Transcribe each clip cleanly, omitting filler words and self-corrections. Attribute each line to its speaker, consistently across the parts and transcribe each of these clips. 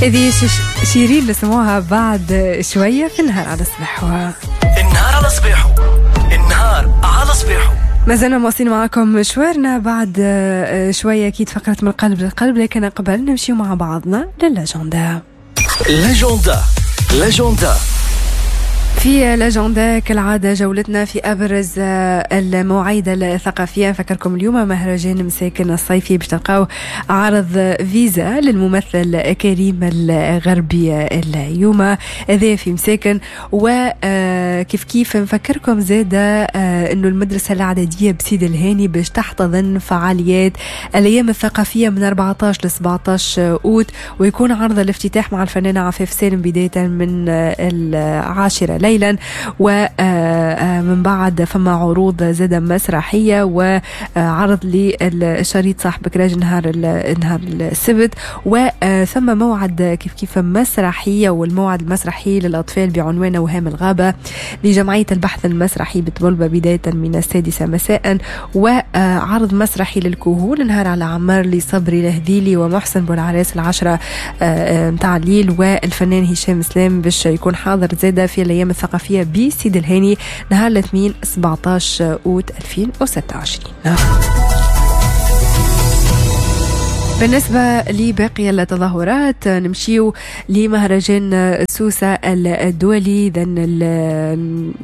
Speaker 1: هذه شيرين نسمعوها بعد شوية في النهار على صباحو.
Speaker 2: النهار على صباحو، النهار على صباحو.
Speaker 1: ما زلنا مواصلين معكم مشوارنا بعد شوية أكيد فقرة من القلب للقلب، لكن قبل نمشي مع بعضنا لل agenda.
Speaker 2: l'agenda، l'agenda.
Speaker 1: في l'agenda كالعادة جولتنا في أبرز المواعيد الثقافية. نفكركم اليوم مهرجان مساكن الصيفي باش تلقاو عرض فيزا للممثل كريم الغربي اليوم، هذا في مساكن. وكيف كيف نفكركم زادة أنه المدرسة الإعدادية بسيد الهاني باش تحتضن فعاليات الأيام الثقافية من 14 ل 17 أوت، ويكون عرض الافتتاح مع الفنانة عفاف سالم بداية من 10 ليلا، ومن بعد فما عروض زادة مسرحية وعرض للشريط صاحب كراج نهار السبت، وثم موعد كيف كيف مسرحية، والموعد المسرحي للأطفال بعنوان أوهام الغابة لجمعية البحث المسرحي بطبلبة بداية من 6 مساء، وعرض مسرحي للكهول نهار على عمار لصبري الهذيلي ومحسن بولعراس 10 متاع الليل، والفنان هشام سلام باش يكون حاضر زادة في الأيام الثقافية بسيد الهاني نهار الاثنين 17 أوت 2026. بالنسبة لباقي التظاهرات نمشيو لمهرجان سوسة الدولي. إذن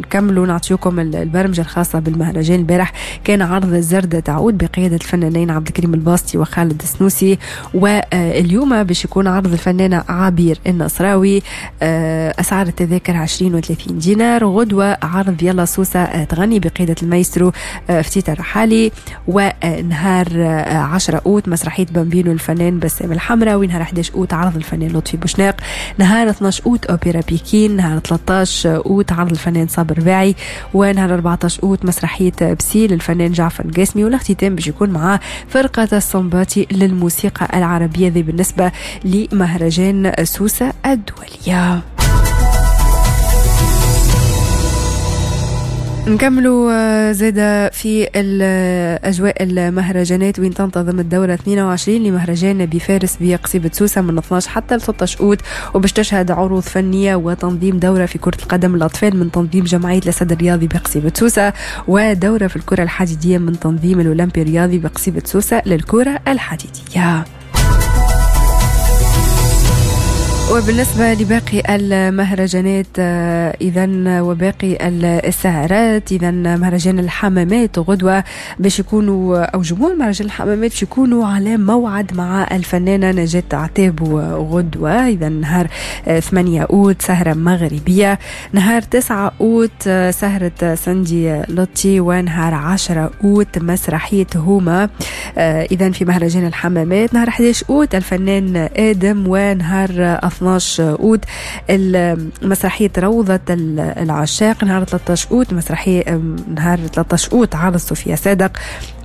Speaker 1: نكملوا نعطيكم البرمجة الخاصة بالمهرجان. البارح كان عرض الزردة تعود بقيادة الفنانين عبد الكريم الباسطي وخالد السنوسي، واليوم باش يكون عرض الفنانة عبير النصراوي. أسعار التذاكر 20 و 30 دينار. غدوة عرض يلا سوسة تغني بقيادة المايسترو فتيت الرحالي، ونهار 10 أوت مسرحية بامبينو الفنان بسام الحمراوي، نهار 11 أوت عرض الفنان لطفي بوشناق، نهار 12 أوت أوبرا بيكين، نهار 13 أوت عرض الفنان صابر باعي، ونهار 14 أوت مسرحية بسيل الفنان جعفر القاسمي، والاختتام باش يكون مع فرقة الصنباطي للموسيقى العربية. ذي بالنسبة لمهرجان سوسة الدولية. نكملوا زادة في الأجواء المهرجانات، وين تنتظم الدورة 22 لمهرجان بفارس بقصيبة سوسة من 12 حتى 13 أوت، وباش تشهد عروض فنية وتنظيم دورة في كرة القدم للأطفال من تنظيم جمعية الأسد الرياضي بقصيبة سوسة، ودورة في الكرة الحديدية من تنظيم الأولمبي الرياضي بقصيبة سوسة للكرة الحديدية. وبالنسبة لباقي المهرجانات إذن وباقي السهرات، إذن مهرجان الحمامات غدوة باش يكونوا، أو جمهور مهرجان الحمامات باش يكونوا على موعد مع الفنانة نجاة عتاب غدوة. إذن نهار 8 أوت سهرة مغربية، نهار 9 أوت سهرة سندي لطي، ونهار 10 أوت مسرحية هوما. إذن في مهرجان الحمامات نهار 11 أوت الفنان آدم، ونهار 12 أوت مسرحية روضة العشاق، نهار 13 أوت مسرحية، نهار 13 أوت عرض صوفيا صادق،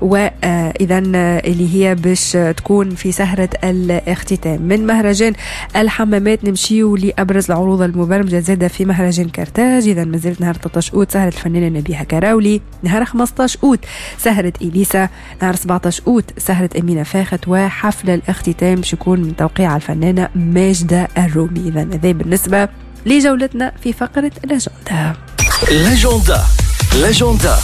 Speaker 1: وإذا اللي هي باش تكون في سهرة الاختتام. من مهرجان الحمامات نمشيو لأبرز العروض المبرمجة زادة في مهرجان كرتاج. إذا مازالت نهار 13 أوت سهرة الفنانة نبيهة كراولي، نهار 15 أوت سهرة إليسا، نهار 17 أوت سهرة أمينة فاخت، وحفل الاختتام باش يكون من توقيع الفنانة ماجدة الرومي. إذا هذا بالنسبة لجولتنا في فقرة l'agenda.
Speaker 2: l'agenda، l'agenda.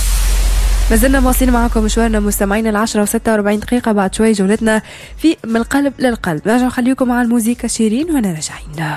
Speaker 1: مازلنا مواصلين معكم مشوارنا مستمعينا 10:46 بعد شوي جولتنا في من القلب للقلب. نرجع نخليكم مع الموسيقى شيرين وأنا راجعين.